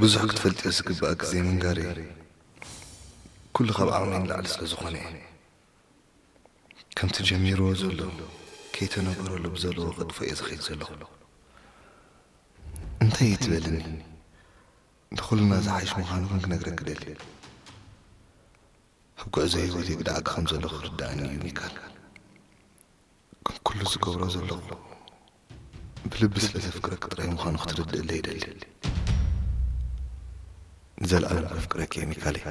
ብዙሕ ክትፈልጥዮ ዝግባኣኪ ዘይምንጋረይ ኩሉ ካብ ዓቕመይ ንላዕሊ ስለ ዝኾነ እየ። ከምቲ ጀሚርዎ ዘሎ ከይተነገረሉ ብዘለዎ ከጥፍኦ እየ ዝኸይድ ዘለኹ። እንታይ እዩ ትበልኒ? ንኹልና ዝሓይሽ ምዃኑ ግን ክነግረኪ ደሊ። ኣብ ጉዕዞ ህይወት ይግዳኣኪ ከም ዘለኹ ክርዳእኒ እዩ ሚካል። ግን ኩሉ ዝገብሮ ዘለኹ ብልቢ ስለ ዘፍቅረኪ ጥራይ ምዃኑ ክትርድእለይ ይደሊ። ንዘለኣለም ከፍቅረኪ እየ ሚካለይ።